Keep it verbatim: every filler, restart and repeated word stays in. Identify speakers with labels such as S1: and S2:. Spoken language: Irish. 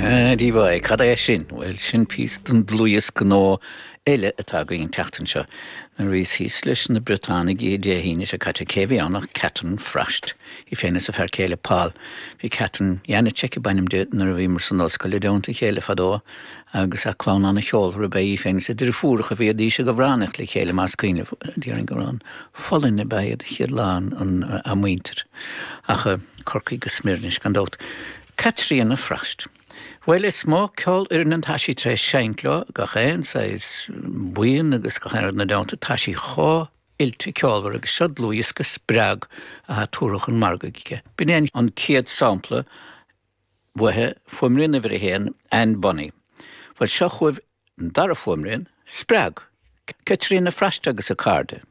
S1: Díobháil, cad é sin? Bhuel sin píosa den dlúthdhiosca nua eile atá againn an tseachtain seo. Nuair a bhíos thíos leis na Briotánaigh Dé hAoine seo caite cé bhí ann ach Catherine Frost. Í féin is a fear céile Paul. Bhí Catherine Janacek ab ainm di nuair a bhíomar san ollscoil i dteannta a chéile fadó agus a clann an-cheolmhar ab ea í féin is a deirfiúracha bhídís ag amhránaíocht le chéile más cuimhin libh déarfainn go raibh an Pholainn ab ea iad a chéad lán an a muintir. Ach Corcaigh go smior anois gan dabht. Caitríona Frost. Bhuel is mó ceolfhoireann atá sí tar éis seinnt leo gach aon saghas buíon agus gach aon rud ina dteannta tá sí chomh oilte ceolmhar agus seo dlúthdhiosca Spreag atá tabhartha chun margaidh aici. B'in é an chéad sampla uaithi fuaimrian uimhir a haon Anne Bunny. Bhuel seo chugaibh an dara fuaimrian Spreag. Caitríona Frost agus a cairde.